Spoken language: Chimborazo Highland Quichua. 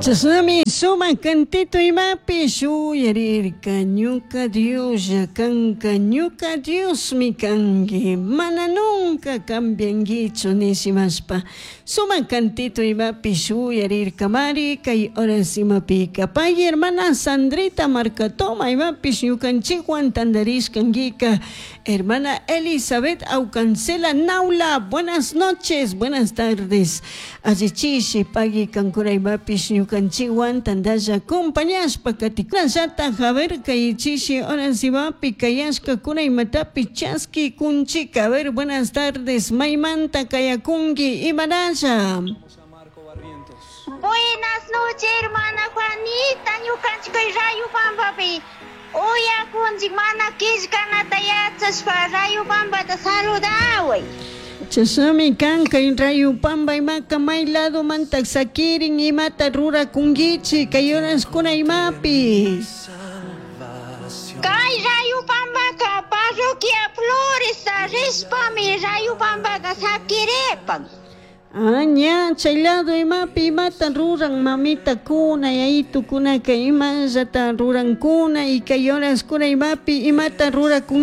Chashnami sumak cantito imapish uyarirka ñuka Dioslla kanka ñuka Diosmi kanki mana nunca cambianguichu nishimashpa sumak cantito imapish uyarirkamari kay horas imapika pay hermana Sandrita Marcatoma imapish ñukanchikwan tandarishkankika hermana Elizabeth Aucancela Naula buenas noches buenas tardes allichishi pagui kankuna imapish ñukanchikwan tandalla acompañashpa katikunallata a ver kay chishi horas imapi kayashkakuna imatapi chaski kunchika a ver buenas tardes maymanta kayakunki imanalla. Buenas noches, hermana Juanita. Ñukanchik kay Rayupampapi uyakunchik mana killkanata yachashpa Rayupampata saludaway. Chashnami kan kay Rayupampa imaka may ladomanta sakirin imata rurakunkichik kay horaskuna imapi. Kay Rayupampaka parroquia Floresta rishpami Rayupampaka sakiripan. Ah, ña, chay lado imapi imata ruran mamitakuna yayitukunaka imallata rurankuna y kay horaskuna imapi imata rurakunki.